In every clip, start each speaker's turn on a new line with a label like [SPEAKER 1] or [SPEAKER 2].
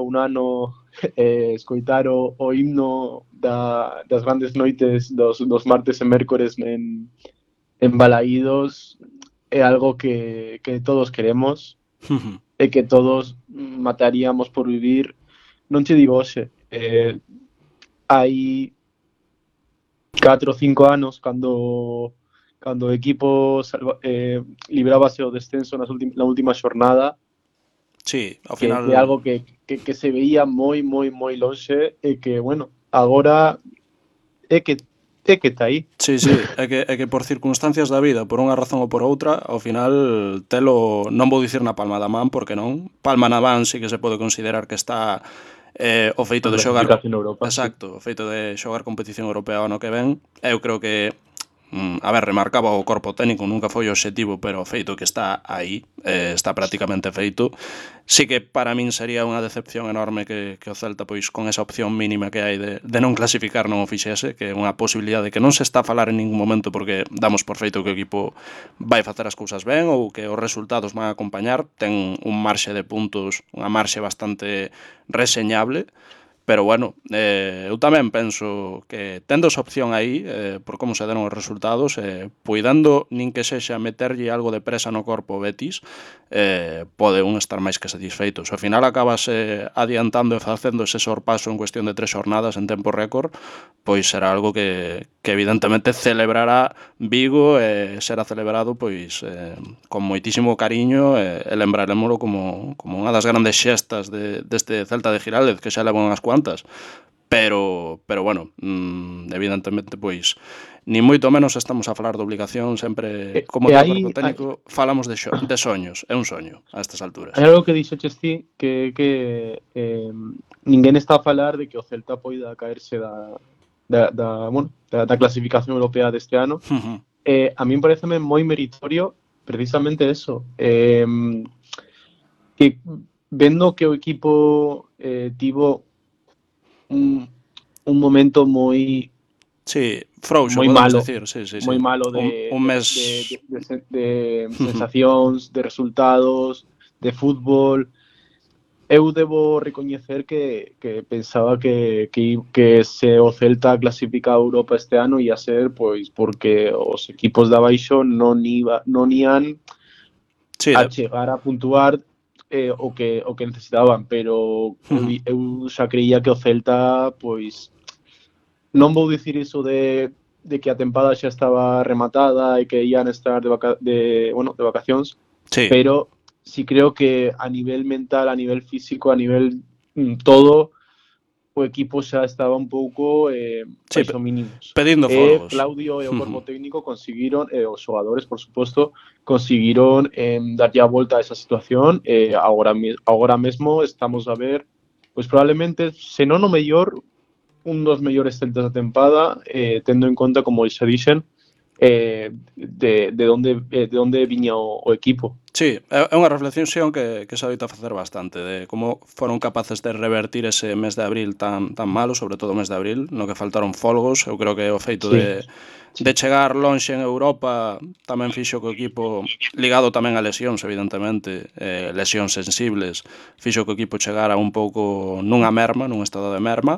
[SPEAKER 1] un ano escoitar o himno das grandes noites dos martes e mércores en Balaídos é algo que todos queremos e que todos mataríamos por vivir. Non che digo hoxe, hai 4 ou 5 anos cando o equipo librábase o descenso na última xornada,
[SPEAKER 2] Sí, ao
[SPEAKER 1] que
[SPEAKER 2] final...
[SPEAKER 1] é algo que se veía moi lonxe e que, bueno, agora é que está aí.
[SPEAKER 2] Sí, é que por circunstancias da vida, por unha razón ou por outra, ao final telo, non vou dicir na palma da man, porque non, palma na man sí que se pode considerar que está o feito
[SPEAKER 1] A
[SPEAKER 2] de xogar...
[SPEAKER 1] clasificación de Europa, sí.
[SPEAKER 2] Exacto, o feito de xogar competición europea o ano que ven, eu creo que a ver, remarcaba o corpo técnico, nunca foi o obxectivo, pero o feito que está aí, está prácticamente feito. Sí que para min sería unha decepción enorme que o Celta, pois con esa opción mínima que hai de non clasificar, non o fixese, que é unha posibilidade que non se está a falar en ningún momento porque damos por feito que o equipo vai facer as cousas ben ou que os resultados van a acompañar, ten un marxe de puntos, unha marxe bastante reseñable. Pero bueno, eu tamén penso que tendo esa opción aí, por como se deron os resultados, puidando nin que sexa meterlle algo de presa no corpo Betis, pode un estar máis que satisfeito. Se ao final acabas adiantando e facendo ese sorpaso en cuestión de 3 xornadas en tempo récord, pois será algo que evidentemente celebrará Vigo e será celebrado pois con moitísimo cariño e lembrarémolo como unha das grandes xestas deste Celta de Giraldez, que xa levan unhas cuantas, pero bueno, evidentemente pois ni moito menos estamos a falar de obligación, sempre como todo cuerpo técnico falamos de soños, é un soño a estas alturas.
[SPEAKER 1] Hai algo que dixeches ti que ninguén está a falar de que o Celta poida caerse da clasificación europea deste ano. A min pareceme moi meritorio precisamente eso, que vendo que o equipo tivo un momento moi
[SPEAKER 2] frouxo,
[SPEAKER 1] moi
[SPEAKER 2] podemos
[SPEAKER 1] malo,
[SPEAKER 2] decir, sí.
[SPEAKER 1] moi malo
[SPEAKER 2] un mes
[SPEAKER 1] de sensacións, de resultados, de fútbol. Eu debo recoñecer que pensaba que se o Celta clasifica a Europa este ano ia ser pois porque os equipos de abaixo non ian a chegar a puntuar o que necesitaban, pero eu xa creía que o Celta pois non vou dicir iso de que a tempada xa estaba rematada e que ian estar de vacacións, pero sí creo que a nivel mental, a nivel físico, a nivel todo, o equipo xa estaba un pouco baixo mínimos.
[SPEAKER 2] Pedindo folgos.
[SPEAKER 1] Claudio e o corpo técnico conseguiron, os xogadores, por suposto, conseguiron darlle a volta a esa situación. Agora mesmo estamos a ver, pois probablemente, se non o mellor, un dos mellores Celtas da tempada, tendo en conta, como xa dixen, de onde viña o equipo.
[SPEAKER 2] Sí, é unha reflexión que se adoita facer bastante de como foron capaces de revertir ese mes de abril tan malo, sobre todo o mes de abril, no que faltaron folgos. Eu creo que o feito de chegar lonxe en Europa tamén fixo que o equipo, ligado tamén a lesións, evidentemente, lesións sensibles, fixo que o equipo chegara un pouco nunha merma, nun estado de merma,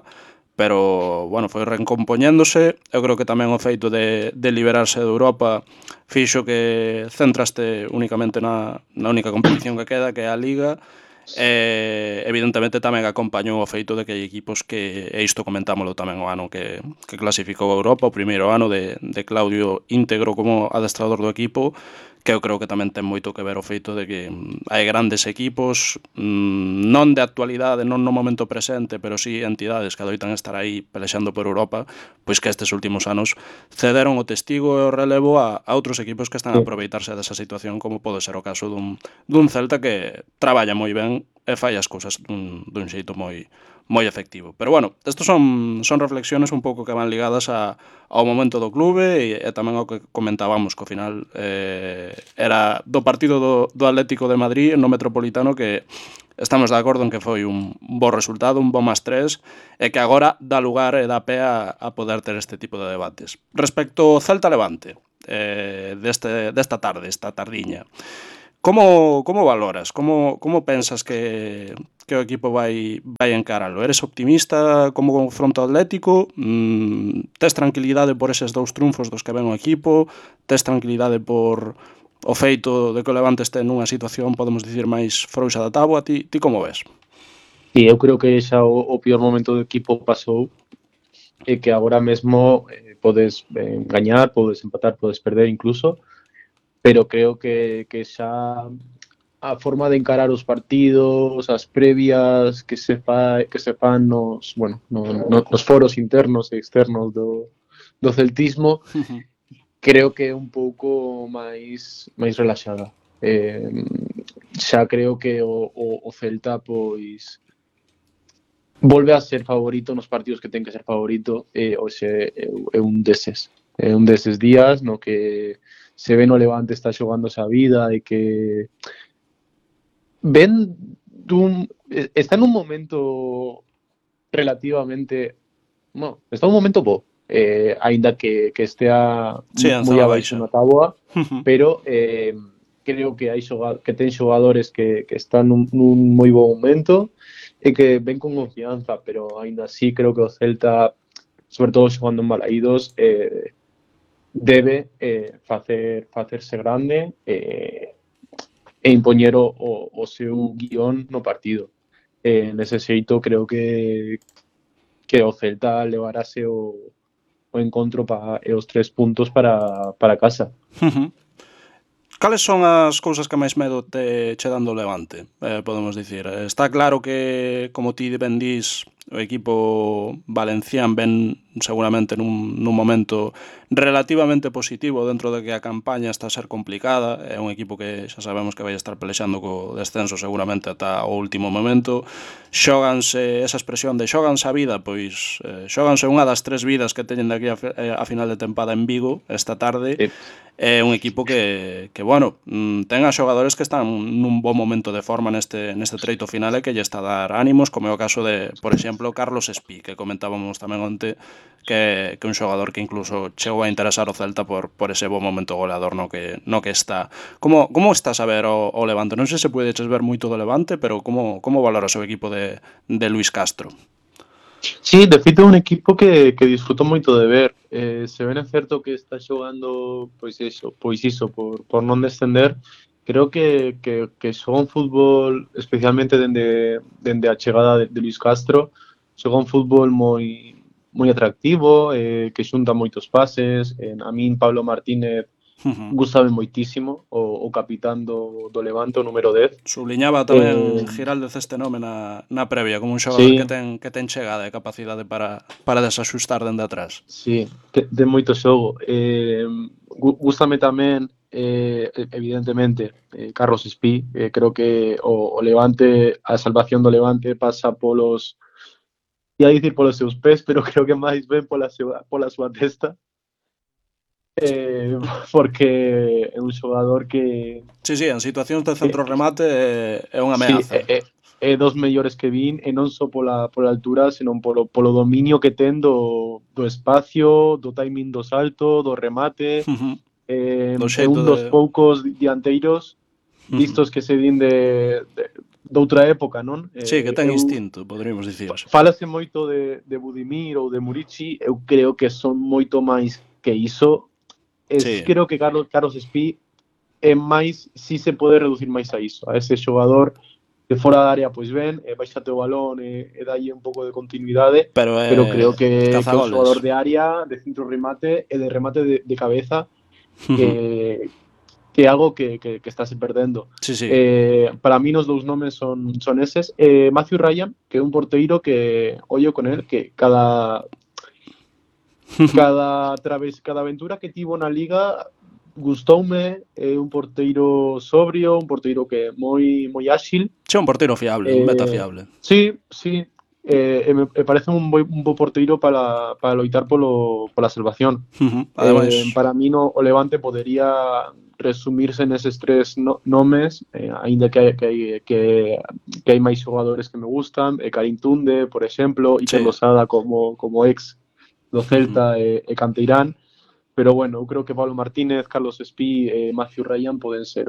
[SPEAKER 2] pero, bueno, foi recompoñéndose. Eu creo que tamén o feito de liberarse de Europa fixo que centraste únicamente na única competición que queda, que é a Liga. Evidentemente tamén acompañou o feito de que hai equipos que, e isto comentámoslo tamén o ano que clasificou a Europa, o primeiro ano de Claudio íntegro como adestrador do equipo, que eu creo que tamén ten moito que ver o feito de que hai grandes equipos, non de actualidade, non no momento presente, pero sí entidades que adoitan estar aí pelexando por Europa, pois que estes últimos anos cederon o testigo e o relevo a outros equipos que están a aproveitarse desa situación, como pode ser o caso dun Celta que traballa moi ben e fai as cousas dun xeito moi efectivo. Pero bueno, estos son reflexiones un pouco que van ligadas ao momento do clube e tamén ao que comentábamos, que ao final era do partido do Atlético de Madrid no Metropolitano, que estamos de acordo en que foi un bo resultado, un bo +3, e que agora dá lugar e dá pé a poder ter este tipo de debates. Respecto ao Celta Levante, desta tarde, esta tardiña, Como valoras? Como pensas que o equipo vai encaralo? Eres optimista como confronto atlético? Tes tranquilidade por eses 2 triunfos dos que ven o equipo? Tes tranquilidade por o feito de que o Levante este nunha situación, podemos dicir, máis frouxa da táboa? Ti como ves?
[SPEAKER 1] Sí, eu creo que xa o peor momento do equipo pasou e que agora mesmo podes gañar, podes empatar, podes perder incluso, pero creo que xa a forma de encarar os partidos, as previas que se fan nos foros internos e externos do celtismo, creo que é un pouco máis relaxada. Xa creo que o Celta pois volve a ser favorito nos partidos que ten que ser favorito, hoxe é un deses días no que se ve no Levante está xogándose a vida e que está en un momento relativamente, está un momento bo, aínda que estea moi abaixo na táboa, pero creo que ten xogadores que están nun moi bo momento e que ven con confianza, pero aínda así creo que o Celta, sobre todo xogando en Balaídos, debe facerse grande e impoñer o seu guión no partido. Nese xeito creo que o Celta levarase o encontro e os 3 puntos para casa.
[SPEAKER 2] Cales son as cousas que máis medo che dando o Levante, podemos dicir? Está claro que, como ti ben dís, o equipo valencián ven seguramente nun momento relativamente positivo dentro de que a campaña está a ser complicada. É un equipo que xa sabemos que vai estar pelexando co descenso seguramente ata o último momento. Xóganse, esa expresión de xóganse a vida, pois xóganse unha das 3 vidas que teñen de aquí a final de tempada en Vigo esta tarde.
[SPEAKER 1] Sí.
[SPEAKER 2] É un equipo que bueno, ten a xogadores que están nun bo momento de forma neste treito final e que lle está a dar ánimos, como é o caso de, por exemplo, Carlos Espí, que comentábamos tamén onte, que un xogador que incluso chegou a interesar o Celta por ese bo momento goleador no que está. Como estás a ver o Levante? Non sei se podeches ver moito do Levante, pero como valoras o equipo de Luis Castro?
[SPEAKER 1] Sí, de feito é un equipo que disfruto moito de ver. Se ben é certo que está xogando pois iso, por non descender, creo que xoga un fútbol, especialmente dende a chegada de Luis Castro, xoga un fútbol moi atractivo, que xunta moitos pases. A min Pablo Martínez gustame moitísimo, o capitán do Levante, o número 10.
[SPEAKER 2] Subliñaba tamén Giraldez este nome na previa, como un xogador que ten chegada e capacidade para desaxustar dende atrás.
[SPEAKER 1] Sí, ten moito xogo. Gústame tamén, evidentemente, Carlos Espí. Creo que o Levante, a salvación do Levante pasa polos, ia dicir polos seus pés, pero creo que máis ben pola súa testa. Porque é un xogador que...
[SPEAKER 2] Sí, en situacións de centro remate é unha ameaza.
[SPEAKER 1] É dos mellores que vin, e non só pola altura, senón polo dominio que ten do espacio, do timing do salto, do remate. É un dos poucos dianteiros vistos que se din de outra época, non?
[SPEAKER 2] Sí, que ten instinto, poderíamos dicir.
[SPEAKER 1] Fálase moito de Budimir ou de Murici. Eu creo que son moito máis que iso. Creo que Carlos Espí é máis, si se pode reducir máis a iso, a ese xogador de fora da área, pois ben, baixate o balón e dalle un pouco de continuidade, pero creo que é un xogador de área, de centro remate e de remate de cabeza, que é algo que estáse perdendo.
[SPEAKER 2] Sí.
[SPEAKER 1] Para mí os dous nomes son eses. Matthew Ryan, que é un porteiro que, ollo con él, que cada aventura que tivo na Liga gustoume. É un porteiro sobrio, un porteiro que é moi áxil.
[SPEAKER 2] Sí, un porteiro fiable, un meta fiable.
[SPEAKER 1] Sí. Me parece un bo porteiro para loitar pola salvación.
[SPEAKER 2] Ademais,
[SPEAKER 1] para mí o Levante podería resumirse neses 3 nomes, aínda que hai máis xogadores que me gustan, Karim Tunde, por exemplo, Iker Losada como ex do Celta e canteirán, pero bueno, eu creo que Pablo Martínez, Carlos Espí e Matthew Ryan poden ser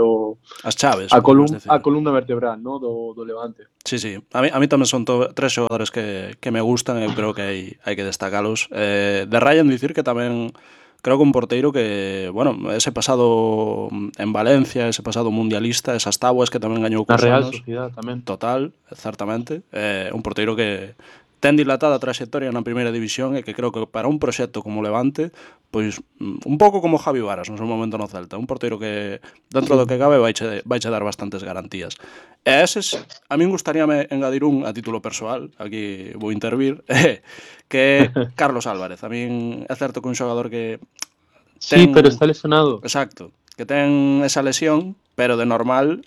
[SPEAKER 2] as chaves,
[SPEAKER 1] a columna vertebral, no, do Levante.
[SPEAKER 2] Sí, a mí tamén son tres xogadores que me gustan, eu creo que hai que destacalos. De Ryan dicir que tamén creo que un porteiro que, bueno, ese pasado en Valencia, ese pasado mundialista, esas tábuas que tamén gañou
[SPEAKER 1] cos Real
[SPEAKER 2] anos,
[SPEAKER 1] Sociedad tamén.
[SPEAKER 2] Total, certamente, un porteiro que ten dilatada traxectoria na primeira división e que creo que para un proxecto como Levante, pois un pouco como Javi Varas no seu momento no Celta, un porteiro que dentro do que cabe vaiche dar bastantes garantías. E eses, a min gustaríame engadir un a título persoal, aquí vou intervir, que é Carlos Álvarez. A min é certo que un xogador que
[SPEAKER 1] ten... Sí, pero está lesionado.
[SPEAKER 2] Exacto, que ten esa lesión, pero de normal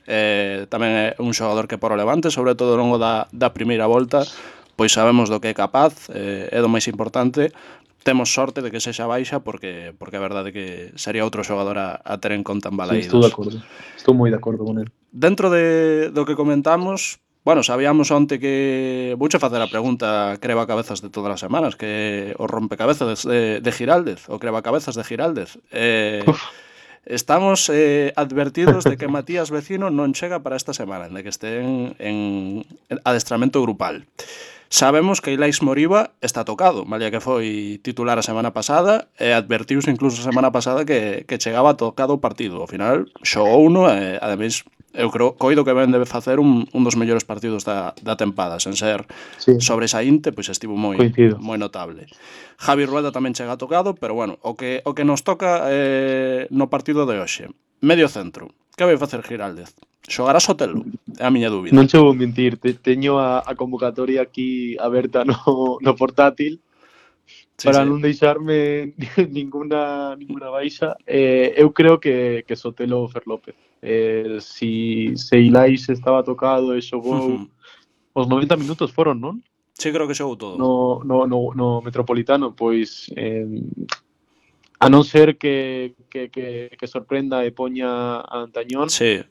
[SPEAKER 2] tamén é un xogador que por o Levante, sobre todo ao longo da primeira volta, pois sabemos do que é capaz, é do máis importante. Temos sorte de que sexa baixa porque a verdade é que sería outro xogador a ter en conta en Balaídos.
[SPEAKER 1] Sí, estou de acordo, estou moi de acordo con el.
[SPEAKER 2] Dentro do que comentamos, bueno, sabíamos onte que vouche facer a pregunta creva-cabezas de todas as semanas, que o rompecabezas de Giraldez, o creva-cabezas de Giraldez. Estamos advertidos de que Matías Vecino non chega para esta semana, de que este en adestramento grupal. Sabemos que Ilais Moriba está tocado, malia que foi titular a semana pasada, e advertiuse incluso a semana pasada que chegaba tocado o partido. Ao final, xogou uno e, ademais, eu creo, coido que ben debe facer un dos mellores partidos da tempada, sen ser sobresaínte, pois estivo moi notable. Javi Rueda tamén chega tocado, pero bueno, o que nos toca no partido de hoxe. Medio centro. Que vai facer Giraldez? Xogará Sotelo? É a miña dúbida.
[SPEAKER 1] Non che vou mentir, teño a convocatoria aquí aberta no portátil para non deixarme ninguna baixa. Eu creo que Sotelo ou Fer López. Se Ilais estaba tocado e xogou os 90 minutos foron, non?
[SPEAKER 2] Sí, creo que xogou todo.
[SPEAKER 1] No Metropolitano, pois a non ser que sorprenda e poña a Antañón.
[SPEAKER 2] Sí.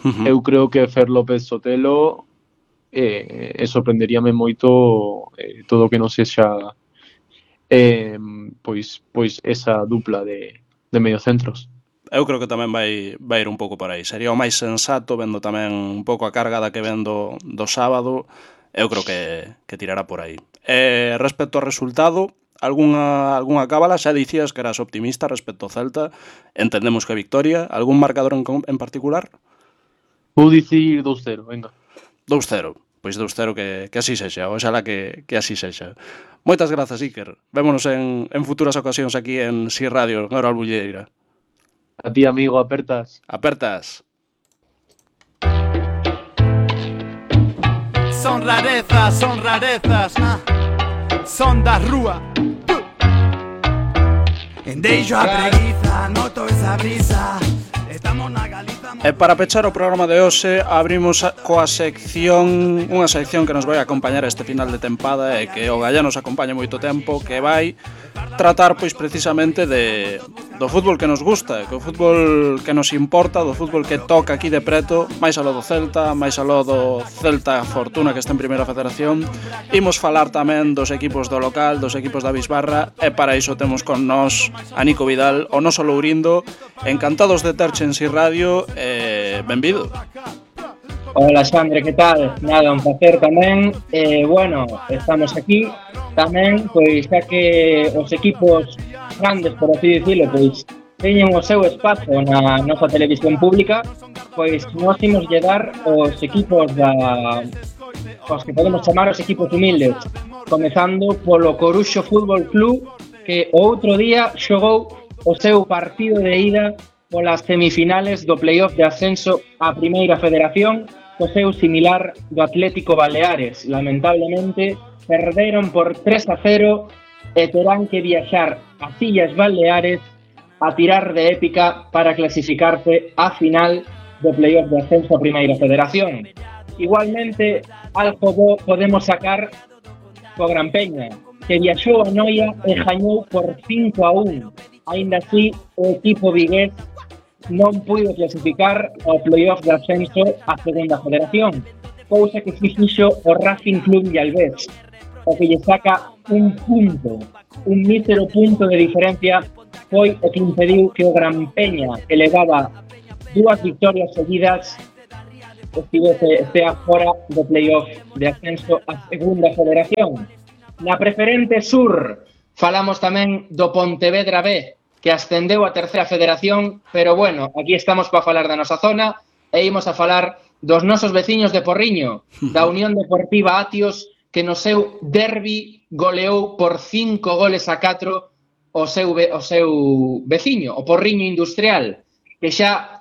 [SPEAKER 1] Eu creo que Fer López Sotelo sorprenderíame moito todo o que non sexa pois esa dupla de mediocentros.
[SPEAKER 2] Eu creo que tamén vai ir un pouco por aí. Sería o máis sensato, vendo tamén un pouco a carga da que vendo do sábado. Eu creo que tirará por aí. Respecto ao resultado, algunha cábala? Xa dicías que eras optimista respecto ao Celta. Entendemos que victoria. Algún marcador en particular?
[SPEAKER 1] Vou dicir 2-0, venga.
[SPEAKER 2] 2-0. Pois 2-0 que así sexa, oxalá que así sexa. Moitas grazas, Iker. Vémonos en futuras ocasións aquí en Si Radio, en Hora Albulleira.
[SPEAKER 1] A ti, amigo, apertas.
[SPEAKER 2] Apertas.
[SPEAKER 3] Son rarezas, son da rúa. Deixo a preguiza, noto esa brisa.
[SPEAKER 2] E para pechar o programa de hoxe abrimos coa sección, unha sección que nos vai acompañar este final de tempada e que o Gallá nos acompaña moito tempo, que vai tratar pois precisamente do fútbol que nos gusta, que o fútbol que nos importa, do fútbol que toca aquí de preto, máis aló do Celta, máis aló do Celta Fortuna que está en Primeira Federación. Imos falar tamén dos equipos do local, dos equipos da Bisbarra, e para iso temos con nós a Nico Vidal, o noso Lourindo. Encantados de terche en Si Radio, benvido.
[SPEAKER 4] Hola Xandre, que tal? Nada, un placer tamén. Bueno, estamos aquí tamén, pois xa que os equipos grandes, por así dicilo, pois teñen o seu espazo na nosa televisión pública, pois nós imos dar os equipos os que podemos chamar os equipos humildes, comezando polo Coruxo Fútbol Club, que o outro día xogou o seu partido de ida polas semifinales do playoff de ascenso á Primeira Federación, co seu similar do Atlético Baleares. Lamentablemente, perderon por 3-0 e terán que viaxar ás Illas Baleares a tirar de épica para clasificarse á final do playoff de ascenso á Primeira Federación. Igualmente, algo bo podemos sacar co Gran Peña, que viaxou a Noia e gañou por 5-1. Ainda así, o equipo vigués non puido clasificar ao playoff de ascenso á Segunda Federación, cousa que fixo o Racing Club de Albés, o que lle saca un mísero punto de diferencia foi o que impediu que o Gran Peña, que levaba 2 victorias seguidas, estea fora do playoff de ascenso a segunda federación. Na preferente sur falamos tamén do Pontevedra B, que ascendeu a terceira federación, pero bueno, aquí estamos para falar da nosa zona e imos a falar dos nosos veciños de Porriño, da Unión Deportiva Atios, que no seu derbi goleou por 5 goles a 4 o seu veciño, o Porriño Industrial, que xa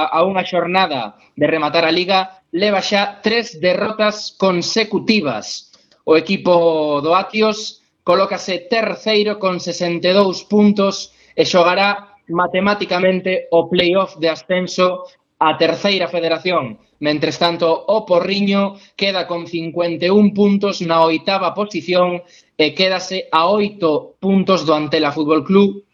[SPEAKER 4] a unha xornada de rematar a Liga leva xa 3 derrotas consecutivas. O equipo do Atios colócase terceiro con 62 puntos e xogará matemáticamente o playoff de ascenso a terceira federación. Mentres tanto, o Porriño queda con 51 puntos na oitava posición e quédase a 8 puntos do Antela Fútbol Club,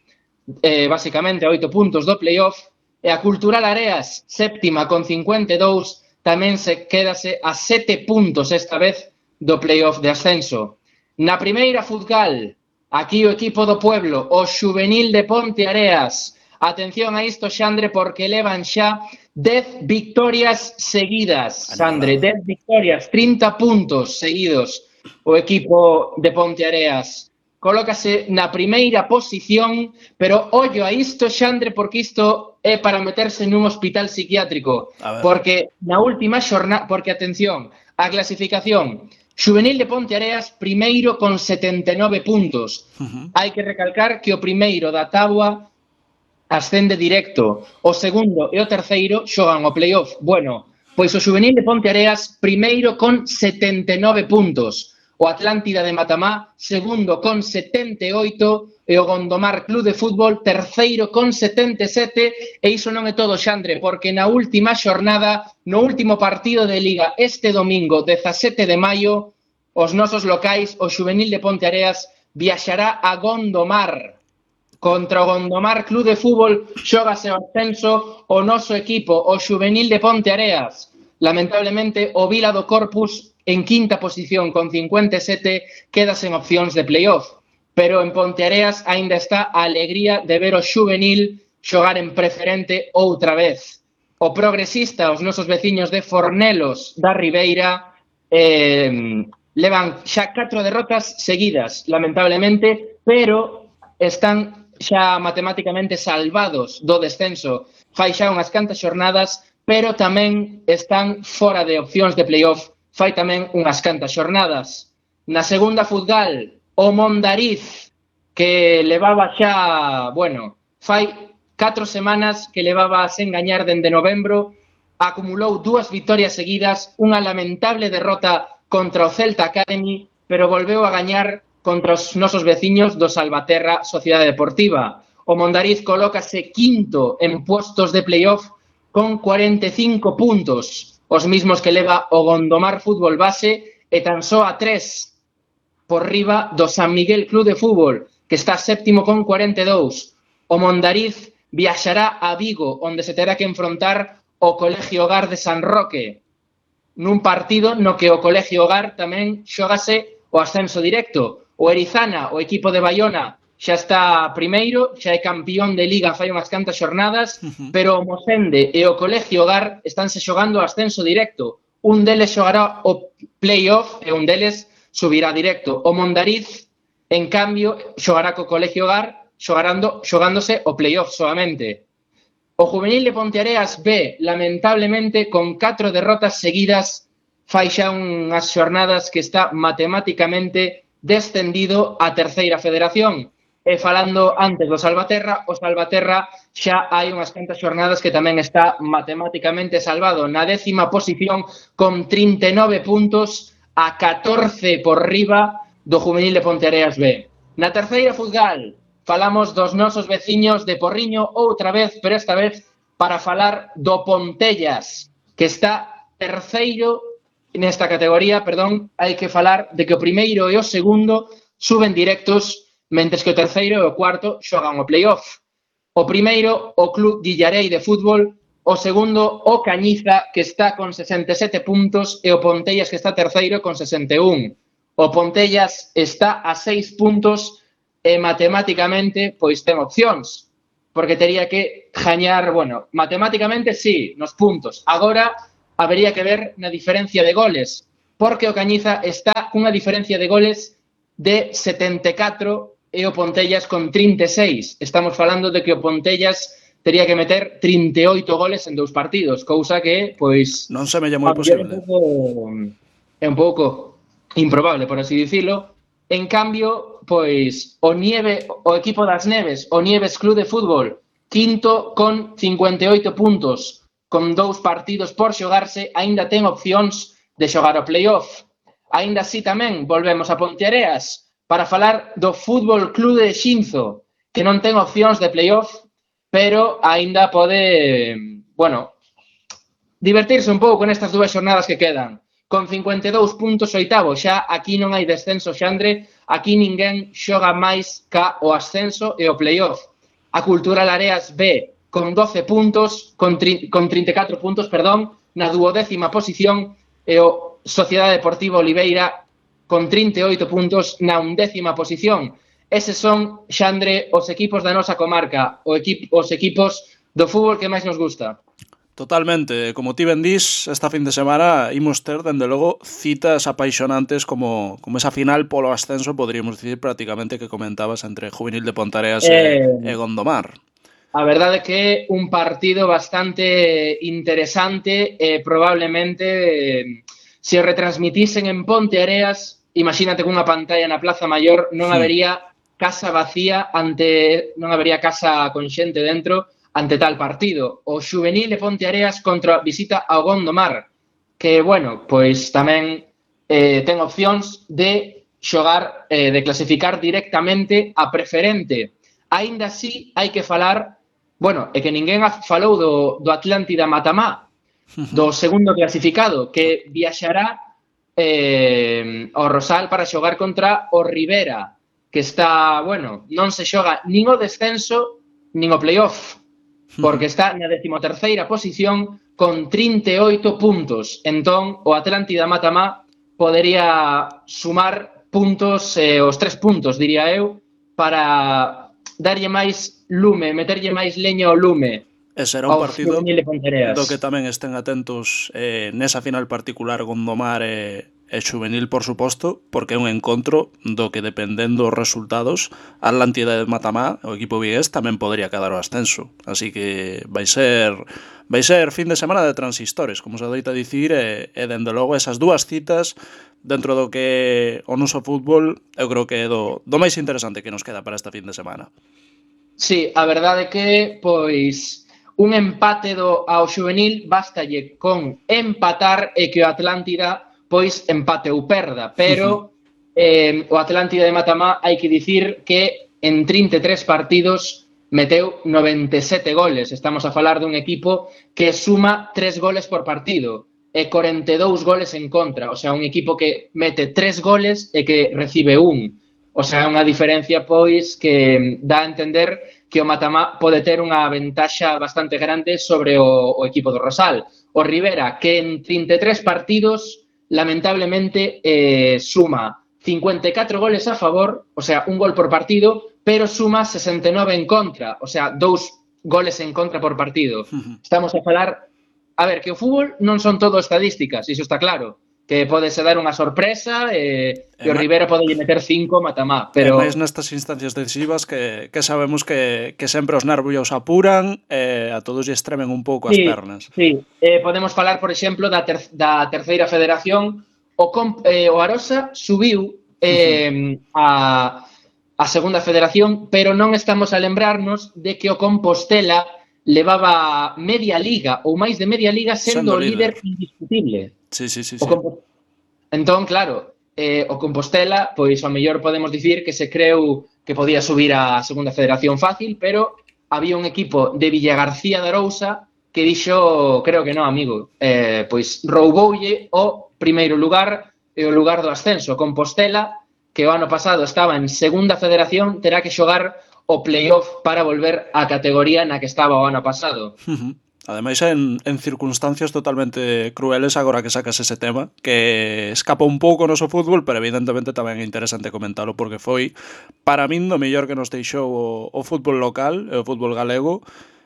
[SPEAKER 4] basicamente a 8 puntos do playoff, e a Cultural Areas, séptima con 52, tamén se quédase a 7 puntos esta vez do playoff de ascenso. Na primeira Futgal, aquí o equipo do pueblo, o Xuvenil de Ponte Areas. Atención a isto, Xandre, porque levan xa 10 victorias seguidas, Xandre, 10 victorias, 30 puntos seguidos o equipo de Ponte Areas. Colócase na primeira posición, pero ollo a isto, Xandre, porque isto é para meterse nun hospital psiquiátrico, porque na última xornada, porque atención, a clasificación, Xuvenil de Ponte Areas primeiro con 79 puntos. Hai que recalcar que o primeiro da táboa ascende directo, o segundo e o terceiro xogan o playoff. Bueno, pois o Xuvenil de Ponte Areas primeiro con 79 puntos, o Atlántida de Matamá segundo con 78 e o Gondomar Club de Fútbol terceiro con 77. E iso non é todo, Xandre, porque na última xornada, no último partido de Liga este domingo 17 de maio, os nosos locais, o Xuvenil de Ponte Areas viaxará a Gondomar. Contra o Gondomar Club de Fútbol xógase o ascenso o noso equipo, o Xuvenil de Ponte Areas. Lamentablemente, o Vila do Corpus, en quinta posición con 57, queda sen opcións de playoff. Pero en Ponte Areas aínda está a alegría de ver o Xuvenil xogar en preferente outra vez. O Progresista, os nosos veciños de Fornelos da Ribeira, levan xa 4 derrotas seguidas, lamentablemente, pero están xa matemáticamente salvados do descenso. Fai xa unhas cantas xornadas, pero tamén están fora de opcións de playoff, fai tamén unhas cantas xornadas. Na segunda Futgal, o Mondariz, que levaba xa, fai 4 semanas que levaba sen gañar dende novembro, acumulou 2 victorias seguidas, unha lamentable derrota contra o Celta Academy, pero volveu a gañar contra os nosos veciños do Salvaterra Sociedade Deportiva. O Mondariz colócase quinto en puestos de playoff con 45 puntos, os mismos que leva o Gondomar Fútbol Base e tan só a 3 por riba do San Miguel Club de Fútbol, que está séptimo con 42. O Mondariz viaxará a Vigo, onde se terá que enfrontar o Colegio Hogar de San Roque, nun partido no que o Colegio Hogar tamén xógase o ascenso directo. O Erizana, o equipo de Baiona, xa está primeiro, xa é campeón de Liga fai unhas cantas xornadas, pero o Mosende e o Colegio Hogar estánse xogando o ascenso directo. Un deles xogará o playoff e un deles subirá directo. O Mondariz, en cambio, xogará co Colegio Hogar xogándose o playoff solamente. O Juvenil de Ponte Areas B, lamentablemente, con 4 derrotas seguidas, fai xa unhas xornadas que está matemáticamente descendido a terceira federación. E falando antes do Salvaterra, o Salvaterra xa hai unhas cantas xornadas que tamén está matemáticamente salvado. Na 10ª posición con 39 puntos a 14 por riba do Juvenil de Ponte Areas B. Na terceira Futgal falamos dos nosos veciños de Porriño outra vez, pero esta vez para falar do Pontellas, que está terceiro nesta categoría, hai que falar de que o primeiro e o segundo suben directos, mentres que o terceiro e o cuarto xogan o playoff. O primeiro, o Club Guillarei de Fútbol, o segundo, o Cañiza, que está con 67 puntos, e o Pontellas, que está terceiro con 61. O Pontellas está a 6 puntos e matemáticamente pois ten opcións, porque tería que gañar, bueno, matemáticamente sí, nos puntos. Agora habería que ver na diferencia de goles, porque o Cañiza está cunha diferencia de goles de 74 e o Pontellas con 36. Estamos falando de que o Pontellas tería que meter 38 goles en 2 partidos, cousa que, pois...
[SPEAKER 2] Non se me lle moi posible.
[SPEAKER 4] É un pouco improbable, por así dicilo. En cambio, pois, o equipo das Neves, o Nieves Club de Fútbol, quinto con 58 puntos, con 2 partidos por xogarse, aínda ten opcións de xogar o playoff. Aínda así tamén volvemos a Ponteareas para falar do Fútbol Club de Xinzo, que non ten opcións de playoff, pero aínda pode, bueno, divertirse un pouco nestas 2 xornadas que quedan. Con 52 puntos oitavo, xa aquí non hai descenso, Xandre, aquí ninguén xoga máis ca o ascenso e o playoff. A Cultural Areas B con 12 puntos, con 34 puntos, perdón, na 12ª posición, e o Sociedade Deportiva Oliveira con 38 puntos na 11ª posición. Eses son, Xandre, os equipos da nosa comarca, os equipos do fútbol que máis nos gusta.
[SPEAKER 2] Totalmente, como ti ben dís, esta fin de semana imos ter, dende logo, citas apaixonantes como esa final polo ascenso, poderíamos dicir prácticamente que comentabas entre Juvenil de Pontareas e Gondomar.
[SPEAKER 4] A verdade é que é un partido bastante interesante e probablemente se o retransmitisen en Ponteareas, imagínate cunha pantalla na Plaza Maior, non habería casa vacía non habería casa con xente dentro ante tal partido. O Xuvenil de Ponteareas contra visita ao Gondomar, que, bueno, pois tamén ten opcións de xogar, de clasificar directamente a preferente. Aínda así, hai que falar, bueno, é que ninguén falou do Atlántida Matamá, do segundo clasificado, que viaxará ao Rosal para xogar contra o Rivera, que está, bueno, non se xoga nin o descenso nin o playoff, porque está na 13ª posición con 38 puntos. Entón, o Atlántida Matamá podería sumar puntos, os 3 puntos, diría eu, para darlle máis lume, meterlle máis leña ao lume.
[SPEAKER 2] E será un partido do que tamén estén atentos nesa final particular Gondomar e Xuvenil, por suposto, porque é un encontro do que, dependendo dos resultados, a Atlántida de Matamá, o equipo vigués, tamén podría quedar o ascenso. Así que vai ser fin de semana de transistores, como se adoita dicir, e dende logo esas 2 citas dentro do que o noso fútbol, eu creo que é do máis interesante que nos queda para esta fin de semana.
[SPEAKER 4] Sí, a verdade é que, pois, un empate ao Xuvenil bastalle con empatar e que o Atlántida pois empate ou perda, pero o Atlántida de Matamá hai que dicir que en 33 partidos meteu 97 goles. Estamos a falar dun equipo que suma 3 goles por partido e 42 goles en contra, o sea, un equipo que mete 3 goles e que recibe 1. O sea, unha diferencia pois que dá a entender que o Matamá pode ter unha ventaxa bastante grande sobre o equipo do Rosal. O Rivera, que en 33 partidos lamentablemente suma 54 goles a favor, o sea, un gol por partido, pero suma 69 en contra, o sea, 2 goles en contra por partido. Estamos a falar, a ver, que o fútbol non son todo estadísticas, iso está claro, que podese dar unha sorpresa e o Rivera pode meter 5 Matamá, pero...
[SPEAKER 2] E máis nestas instancias decisivas que sabemos que sempre os nervios apuran e a todos lle estremen un pouco as pernas.
[SPEAKER 4] Sí, podemos falar, por exemplo, da terceira federación. O Arosa subiu a segunda federación, pero non estamos a lembrarnos de que o Compostela levaba media liga ou máis de media liga sendo o líder indiscutible.
[SPEAKER 2] Sí.
[SPEAKER 4] Entón, claro, o Compostela, pois ao mellor podemos dicir que se creu que podía subir a segunda federación fácil, pero había un equipo de Villagarcía de Arousa que dixo, creo que non, amigo, pois rouboulle o primeiro lugar e o lugar do ascenso. Compostela, que o ano pasado estaba en segunda federación, terá que xogar o playoff para volver á categoría na que estaba o ano pasado.
[SPEAKER 2] Ademais en circunstancias totalmente crueles agora que sacas ese tema, que escapa un pouco o noso fútbol, pero evidentemente tamén é interesante comentalo porque foi para min do mellor que nos deixou o fútbol local e o fútbol galego,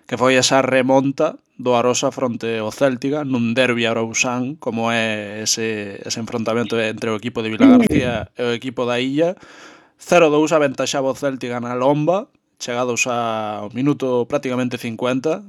[SPEAKER 2] que foi esa remonta do Arosa fronte ao Céltiga nun derbi arousán como é ese enfrontamento entre o equipo de Vilagarcía e o equipo da Illa. 0-2 aventaxaba o Céltiga na lomba, chegados ao minuto prácticamente 50,